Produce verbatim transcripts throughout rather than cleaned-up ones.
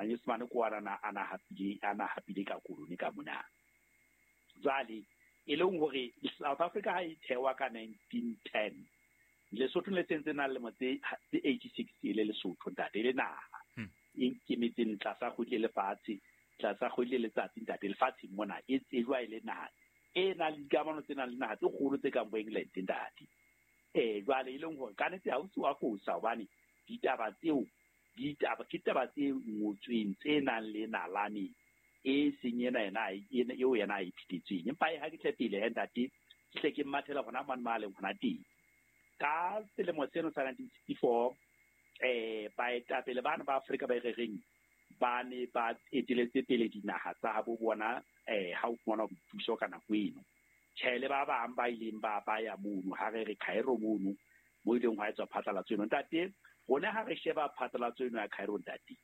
Manyesemane ko ana ana hapile ana hapile ka koloni ka mona. Jwale e leng hore South Africa ha e thewa ka nineteen ten, Lesotho le sentse na lemo tse eighty-six e le Lesotho ntate le naha e ikemetseng tlasa kgwedi le lefatshe, tlasa kgwedi le letsatsi ntate lefatshe mona e tsejwa e le naha e nang le dikamano tse nang le naha tse kgolo tse kang bo England ntate. Eh jwale e leng hore ka nnete ha o se wa fosa hobane ditaba tseo ditaba ke taba tse ngotsweng tse nang le nalane e seng ena ena eo yena a e phethetseng. Empa ha ke tle pele he ntate, ke hle ke mmathela hona mane ma leng hona teng. Ka selemo seno sa nineteen sixty-four eh baetapele bana ba Afrika ba e reng ba ne ba eteletse pele dinaha tsa habo bona eh ha o fumana boipuso ka nako eno. Tjhe le ba bang ba ileng ba ba ya mono ha re re Cairo mono mo ileng hwa etswa phatlalatso eno ntate. Rona ha re sheba phatlalatso eno ya Cairo ntate,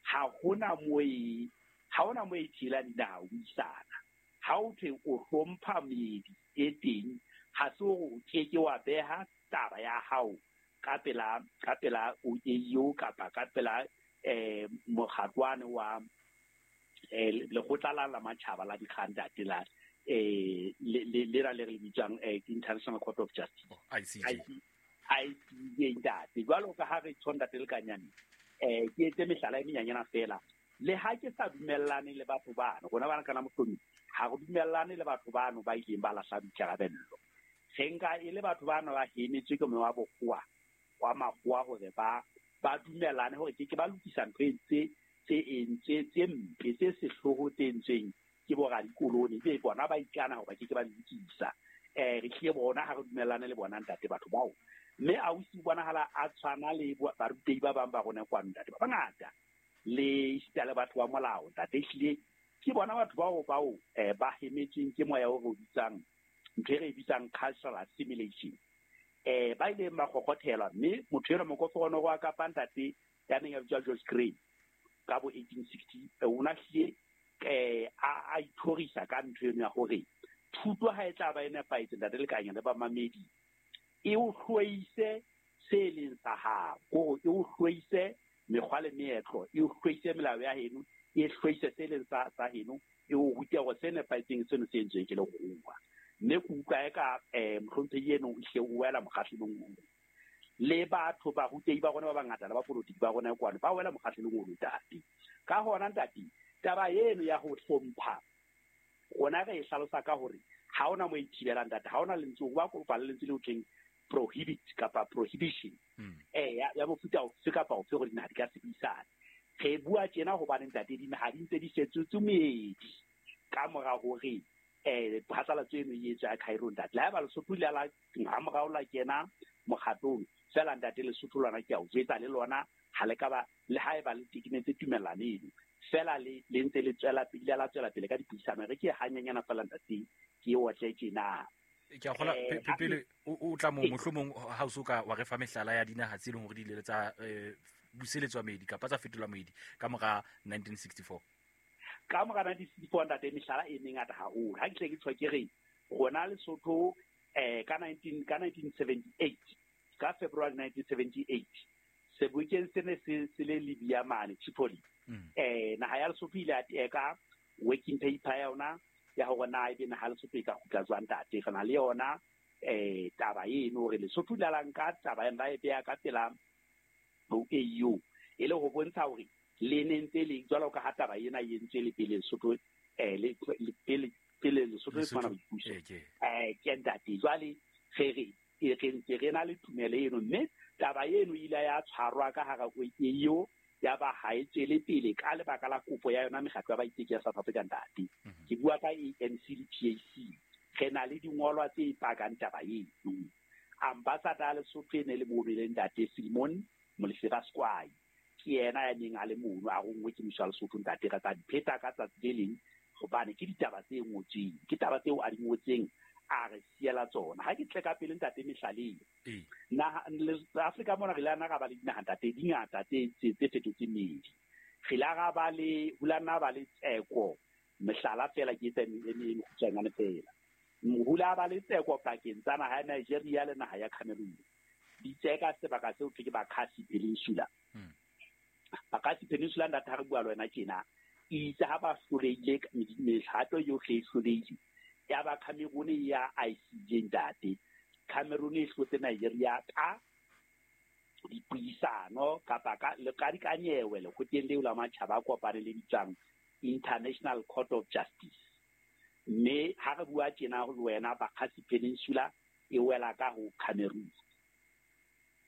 ha hona mo e ha hona mo e thibelang dinaha ho buisana. Ha o thwe o hlompha meedi e teng, ha se hore o keke wa beha taba ya hao ka pela ka pela O A U kapa ka pela eh mokgatlwane wa eh lekgotla la la matjhaba la dikgang ntate la eh le le le le re bitswang International Court of Justice, I C J. I C J ntate. Jwalo ka ha re tjho ntate le kanyane eh ke etse mehlala e menyanyana fela. Le ha ke sa dumellane le batho bano, rona bana kana mohlomi ha re dumellane le batho bano ba ileng ba lahla boikarabello. Re nka e le batho bano ba hemetswe ke moya wa bokgowa wa makgowa hore ba ba dumellane hore ke ke ba lokisa ntho e tse tse entswe tse mpe tse sehloho tse entsweng ke boradikoloni, be bona ba ikana hore ba ke ke ba lokisa. Eh re hlile bona ha re dumellane le bona ntate batho bao. Mme ausi bonahala a tshwana le barutehi ba bang ba rona kwano ntate ba bangata le esita le batho ba molao ntate. Ehlile ke bona batho bao bao eh ba hemetsweng ke moya o re o bitsang ntho e re e bitsang cultural assimilation. Eh ba ileng ba kgokgothelwa mme motho enwa mokoforono wa Kapa ntate ya neng a bitswa George Grey ka bo eighteen sixty o na hlile eh a a ithorisa ka ntho eno ya hore thuto ha e tla ba e nepahetse ntate le kanya le bamamedi e o hloise se leng sa hao, hore e o hloise mekgwa le meetlo, e o hloise melao ya heno, e hloise se leng sa sa heno, e o rute hore se nepahetseng seno se entsweng ke lekgowa. Mme ke utlwa eka eh mohlomphehi eno o hle o wela mokgahlelong oo. Le batho ba rutehi ba rona ba bangata le bapolotiki ba rona kwano ba wela mokgahlelong oo ntate. Ka hona ntate, taba eno ya ho hlompha rona re e hlalosa ka hore ha hona mo e thibelang ntate, ha hona lentswe ba kopa le lentswe le ho thweng prohibit kapa prohibition eh ya ya mofuta ofe kapa ofe hore dinaha di ka se buisane. Re bua tjena hobane ntate dinaha di ntse di fetotswe meedi ka mora hore eh phatlalatso eno e etswa ya Cairo ntate. Le haeba Lesotho le la ha morao la kena mokgatlong fela ntate Lesotho lona ke a o jwetsa le lona ha le ka ba le haeba le tekenetse tumellano eno fela le le ntse le tswela pele la tswela pele ka dipuisano. Re ke hanyanyana fela ntate ke o tle tjena. Ke a kgola pele o tla mo mohlomong ha o so ka wa re fa mehlala ya dinaha tse leng hore di ile tsa buseletswa meedi kapa tsa fetolwa meedi ka mora nineteen sixty-four. Ka mora nineteen sixty-four ntate mehlala e mengata haholo. Ha ke tle ke tshwa ke re rona Lesotho eh ka nineteen ka nineteen seventy-eight ka February nineteen seventy-eight sebokeng se ne se se le Libya mane Tripoli eh naha ya Lesotho ile ya teka working paper ya yona ya hore na ebe naha Lesotho e ka kgutla jwang ntate. Re na le yona eh taba eno hore Lesotho le la nka taba ena e beya ka pela O A U e le ho bontsha hore le ne ntse le jwalo ka ha taba ena e entswe le pele Lesotho eh le pele pele Lesotho le fumana boipuso eh ke ntate. Jwale re re re ntse re na le tumelo eno mme taba eno ile ya tshwarwa ka hara O A U ya ba ha e tswele pele ka lebaka la kopo ya yona mekgatlo ya baiteki ya South Africa ntate. Ke bua ka A N C le P A C. Re na le dingolwa tse pakang taba eno. Ambassador ya Lesotho e ne le mono le ntate Simon Molefi Squai ke yena ya neng a le mono a rongwe ke mmuso wa Lesotho ntate. Re tla di pheta ka tsatsi le leng hobane ke ditaba tse ngotsweng, ke taba tseo a di ngotseng a re siela tsona. Ha ke tle ka pele ntate mehlaleng naha Afrika mona re la na ra ba le dinaha ntate di ngata tse tse fetotseng meedi. Re la ra ba le ho la nna ba le tseko mehlala fela ke etsa e mekgutshwanyane fela. Mohula ba le tseko pakeng tsa naha ya Nigeria le naha ya Cameroon. Di tseka sebaka seo ke Bakassi Peninsula. Bakgatsi Peninsula ntate ha re bua le wena tjena itse ha ba hlolehile mehato yohle e hlolehile ya ba Cameroon ya I C J ntate. Cameroon e hlotse Nigeria ka dipuisano kapa ka le ka dikanyewe lekgotleng leo la matjhaba a kopane le bitswang International Court of Justice. Mme ha re bua tjena le wena Bakgatsi Peninsula e wela ka ho Cameroon.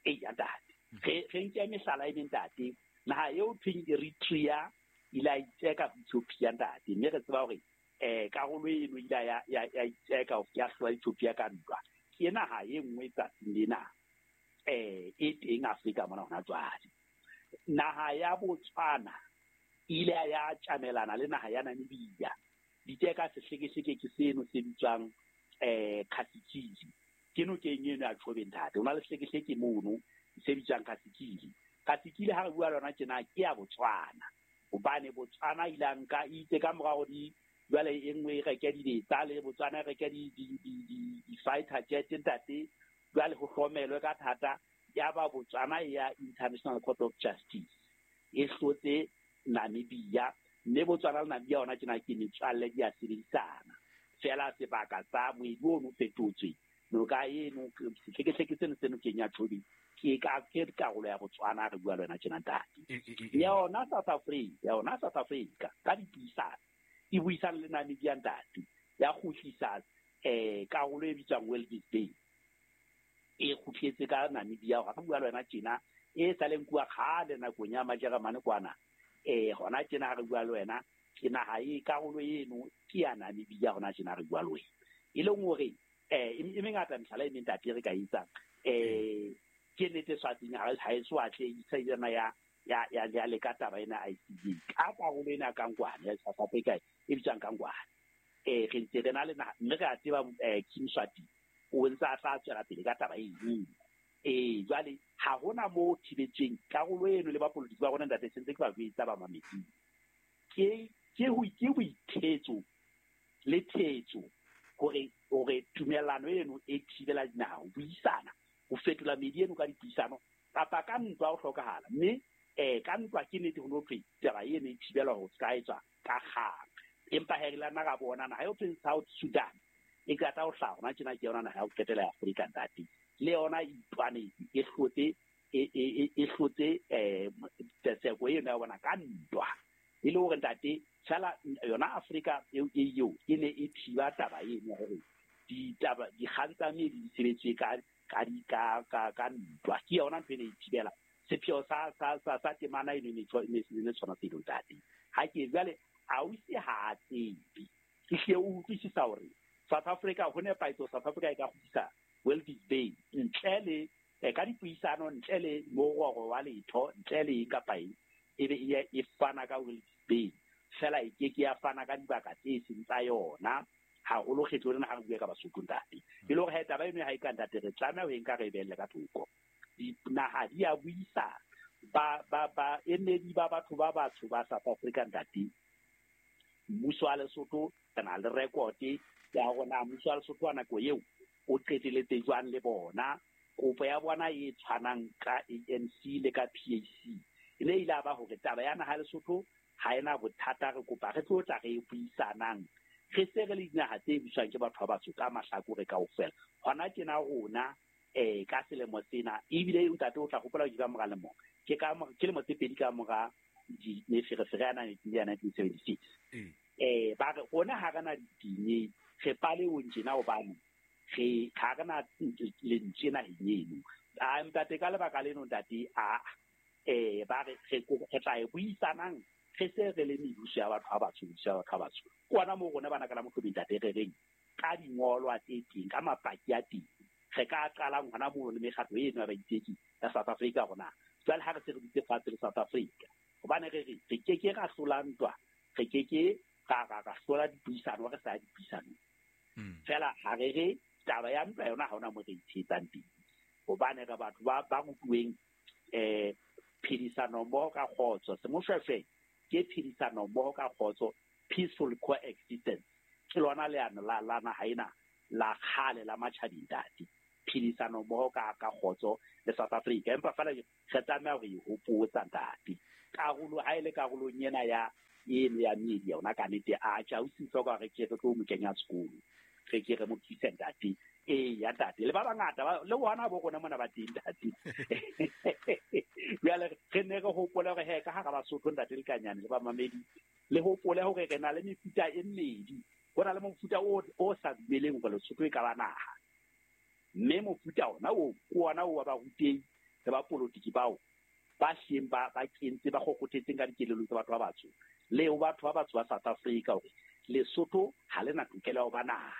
Eya ntate. Re re nke mehlala e meng ntate. Naha eo thweng Eritrea ile a itseka ho Ethiopia ntate, mme re tseba hore eh karolo eno ile ya ya ya itseka ya hlola Ethiopia ka ntwa. Ke naha e nngwe tsatsing lena eh e teng Afrika mona hona jwale. Naha ya Botswana ile ya tjamelana le naha ya Namibia. Diteka sehlekehleke ke seno se bitswang eh Kasikili. Ke nokeng eno ya Chobe ntate. Ho na le sehlekehleke mono se bitswang Kasikili. Kasikili ha re bua lona tjena ke ya Botswana. Hobane Botswana ile a nka itse ka morao di jwale e nngwe e reke dibetsa le Botswana e reke di di di di fighter jet ntate. Jwale ho hlomelwe ka thata ya ba Botswana ya International Court of Justice e hlotse Namibia, mme Botswana le Namibia ona tjena ke metswalle di a sebedisana. Fela sebaka sa moedi ono fetotswe noka eno sehlekehleke seno se nokeng ya Chobe ke ka ke karolo ya Botswana re bua le wena tjena ntate. Yona South Africa, yona South Africa ka dipuisano e buisana le Namibia ntate ya kgutlisa eh karolo e bitswang Walvis Bay e kgutletse ka Namibia. Ga re bua le wena tjena e sa leng kuwa kgale nakong ya Majeremane kwana eh hona tjena ha re bua le wena ke naha e karolo eno ke ya Namibia hona tjena re bua le wena. E leng hore eh e mengata mehlala e meng ntate re ka etsang eh ke nnete Swatsing ha ha e so atle e ya ya ya ya le ka taba ena I C J ka karolo ena ka Ngwane ya South Africa e bitswang ka Ngwane. Eh re ntse re na le naha mme re a tseba King Swati o ntse a tla tswela pele ka taba eno. Eh jwale ha hona mo thibetsweng karolo eno le bapolitiki ba rona ntate sentse ke ba jwetsa ba mametsing. Ke ke ho ke boithetso le thetso hore hore tumellano eno e thibela dinaha ho buisana ho fetola meedi eno ka dipuisano kapa ka ntwa ho hlokahala. Mme eh ka ntwa ke nnete ho no thwe taba eno e thibela ho ska etswa ka kgang. Empa he re la nna ra bona naha eo thweng South Sudan e qeta ho hlaha hona tjena ke yona naha ya ho qetela ya Afrika ntate. Le yona e itwanetse e hlotse e e e hlotse eh tseko eno ya bona ka ntwa. E le hore ntate fela yona Afrika eo eo e ne e thiba taba eno hore ditaba dikgang tsa meedi di sebetswe ka ka di ka ka ka ntwa. Ke yona ntho e ne e thibela sepheo sa sa sa sa temana eno ne ne tshwana selo ntate. Ha ke jwale a o ise ha tsebe ke hle o utlwisisa hore South Africa ho nepahetse South Africa e ka kgutlisa Walvis Bay ntle le ka dipuisano ntle le mororo wa letho ntle le kapa eng e be e fana ka Walvis Bay fela e ke ke ya fana ka dibaka tse seng tsa yona haholo kgetho lena ha re bua ka Basotho ntate. E le hore ha taba eno ha e ka ntate re tlameha ho e nka re e behelle ka thoko. Dinaha di a buisana ba ba ba emedi ba batho ba batsho ba South Africa ntate. Mmuso wa Lesotho re na le record ya hore na mmuso wa Lesotho wa nako eo o qeteletse jwang le bona. Kopo ya bona e tshwanang ka A N C le ka P A C e ne ile ba hore taba ya naha Lesotho ha ena bothata re kopa re tlo tla re e buisanang re se re le dinaha tse buswang ke batho ba batsho ka mahlakore kaofela. Hona tjena rona eh ka selemo sena ebile ntate o tla hopola ke ka mora lemo ke ka ke lemo tse pedi ka mora di meferefere ya nineteen seventy-six eh ba re rona ha re na ditinye re paleong tjena hobane re ha re na lentswe naheng eno. A ntate ka lebaka leno ntate a eh ba re re tla e buisanang re se re le mebuso ya batho ba batsho mebuso ya batho ba batsho. Ke ona moo rona bana ka la Mohlomphehing ntate re reng ka dingolwa tse teng ka mapaki a teng re ka qalang hona moo le mekgatlo eno ya baiteki ya South Africa rona. Jwale ha re se re dutse fatshe le South Africa hobane re re re ke ke ra hlola ntwa re ke ke ra ra ra hlola dipuisano re sa ya dipuisanong. Fela ha re re taba ya ntwa yona ha hona mo re itshetsang teng hobane re batho ba ba rutuweng eh phedisano mmoho ka kgotso. Semoshweshwe ke phedisano mmoho ka kgotso, peaceful coexistence. Ke lona leano la la naha ena la kgale la matjhabeng ntate. Phedisano mmoho ka ka kgotso le South Africa. Empa fela re tlameha ho e hopotsa ntate karolo ha ile karolong ena ya eno ya media ona ka nete a tja o se hloka re ke re tlo mo kenya sekolo re ke re mo thuse ntate e ya ntate le ba bangata le bona bo rona mona ba teng ntate jwale re ne re hopole hore he ka hara Basotho ntate le Kanyane le ba mamedi le hopole hore re na le mefuta e mmedi ho na le mofuta o o sa dumeleng hore Lesotho e ka ba naha mme mofuta ona o ke ona o wa barutehi le ba politiki bao ba hleng ba ba kentse ba kgokgothetseng ka dikelelong tsa batho ba batsho le ho batho ba batsho ba South Africa hore Lesotho ha le na tokelo ya ho ba naha.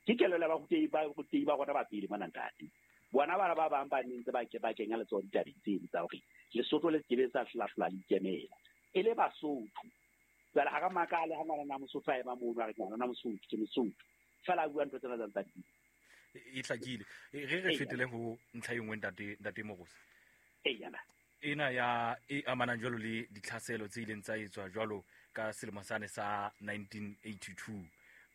Ke kelello ya barutehi ba barutehi ba rona ba pele mona ntate. Bona bana ba bang ba nentse ba ke ba kenya letsoho ditabeng tseno tsa hore Lesotho le sekebe sa hlahlola le ikemela e le Basotho. Jwale ha ka makale ha ngwana Mosotho a ema mono a re ngwana Mosotho ke Mosotho fela a bua ntho tsena tsa ntate. E hlakile. Re re feteleng ho ntlha e nngwe ntate ntate Mogotsi. Eyana. Ena ya e amanang jwalo le ditlhaselo tse ileng tsa etswa jwalo ka selemo sane sa nineteen eighty-two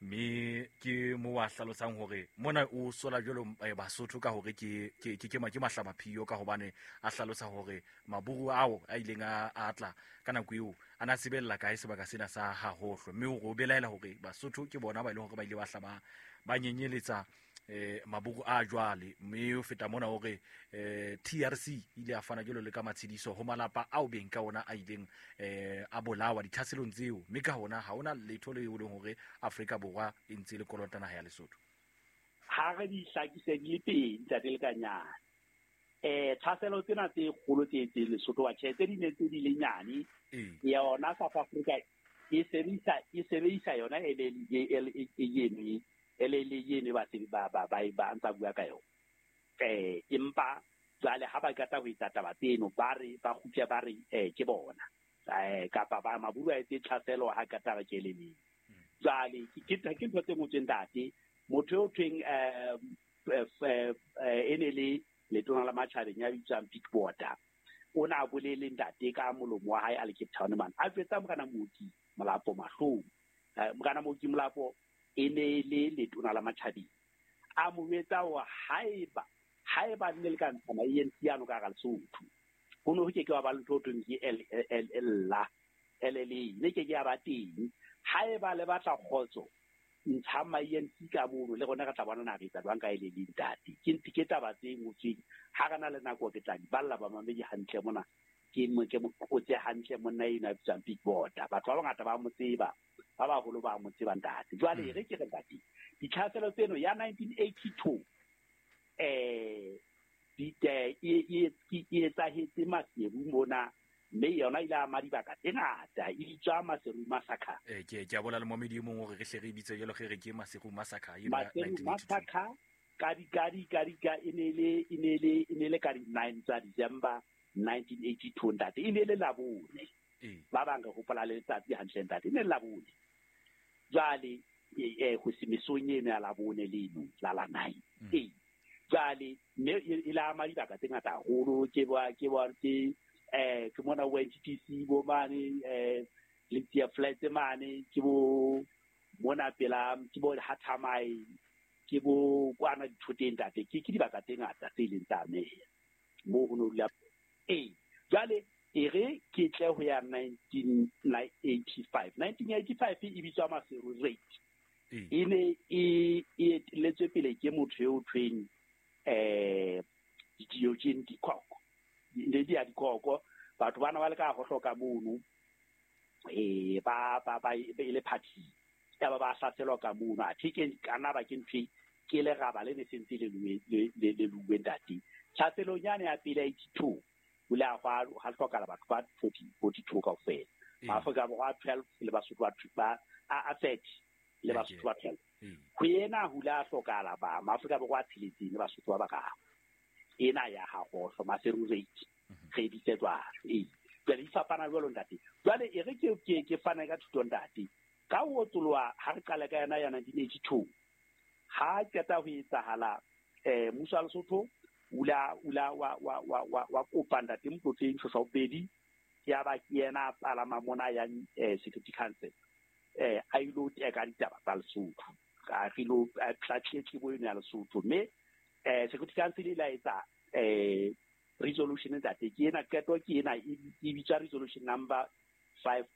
mme ke mo wa hlalosang hore mona o sola jwalo Basotho ka hore ke ke ke ke mahlabaphiyo ka hobane a hlalosa hore maburu ao a ileng a atla ka nako eo a na sebella kae sebaka sena sa Hahohlo mme o belaela hore Basotho ke bona ba ile hore ba ile ba hlaba ba nyenyeletsa eh maburu a jwale mme o feta mona hore eh T R C ile a fana jwalo le ka matshidiso ho malapa ao beng ka ona a ileng eh a bolawa ditlhaselong tseo mme ka hona ha ona letho le leng hore Afrika Borwa e ntse le kolota naha ya Lesotho. Ha re di hlakise di le pedi ntate le Kanyane. Eh tlhaselo tsena tse kgolo tse tse Lesotho wa tjhe tse di ne tse di le nyane yona South Africa e sebedisa e sebedisa yona e le e eno ele le yene ba se ba ba ba ba ntsa bua ka yona eh empa jwale ha ba qeta ho etsa taba tseno ba re ba kgutle ba re eh ke bona eh kapa ba maburu a etse tlhaselo ha ka taba ke le neng jwale ke ke ntho tse ngotsweng ntate motho eo thweng eh e ne le letona la matjhabeng ya bitswang Big Border o na bolele ntate ka molomo wa hae a le Cape Town man a jwetsa morena Mooki Molapo mahlong morena Mooki Molapo e ne le letona la matjhabeng a mo jwetsa hore haeba haeba nne le ka ntshana A N C yano ka hara Lesotho ho no ho ke ke wa ba le ntho thweng ke L L L L L ne ke ke ya ba teng haeba le batla kgotso ntsha ma A N C ka mono le rona re tla bona na re etsa jwang ka e le le ntate ke ntse ke taba tse ngotsweng ha re na le nako ke tla di balla ba mamedi hantle mona ke mo ke mo qotse hantle monna ena a bitswang Big Border batho ba bangata ba mo tseba ba baholo ba mo tseba ntate jwale re ke re ntate ditlhaselo tseno ya nineteen eighty-two eh di e e e etsahetse Maseru mona mme yona ile ama dibaka tse ngata e bitswa Maseru Massacre eh ke ke a bola le momedi e mong hore re hle re bitse jwalo re re ke Maseru Massacre eno ya Maseru nineteen eighty-two Massacre ka di ka di ka di ka e ne le e ne le e ne le ka di nine tsa December nineteen eighty-two ntate e ne le Labone ba bang re hopola le letsatsi hantle ntate e ne le Labone jwale eh ho se mesong eno ya Labone leno la la nine eh jwale mme e la ama dibaka tse ngata haholo ke ba ke ba ke eh ke mona bo N T T C bo mane eh le Tia Flats mane ke bo mona pela ke bo Hathamai ke bo kwana dithoteng ntate ke ke dibaka tse ngata tse ileng tsa ameha mo ho no dula eh jwale e re ke tle ho ya nineteen eighty-five nineteen eighty-five e bitswa Maseru Raid e ne e e letswe pele ke motho eo thweng eh Diogene Dikoko ne di a dikoko batho bana ba le ka go hloka mono eh ba ba ba e le party ya ba ba hlaselwa ka mono a ke kana ba ke ntwe ke le raba le ne sentse le le le luwe ntate tlhaselong yane ya pele eighty-two o le a gwa ha hlokala batho ba forty forty-two kaofela Maafrika Borwa twelve le Basotho ba a thirty le Basotho ba twelve ho ena ho la hlokala ba Maafrika Borwa tsheletseng le Basotho ba bararo ena ya Hahohlo Maseru Raid re bitse jwalo ee jwale di fapana jwalo ntate jwale e re ke ke ke fana ka thuto ntate ka ho otsoloha ha re qala ka yona ya nineteen eighty-two ha qeta ho etsahala eh mmuso wa Lesotho ula ula wa wa wa wa wa kopa ntate Motlotleng Shoshaopedi ya ba ke yena a palama mona ya eh, Security Council eh a ilo teka ditaba tsa Lesotho ka re lo tlatletlibo eno ya Lesotho mme eh Security Council e la etsa eh Resolution, ntate, ke ena qeto, ke ena e e bitswa resolution number five.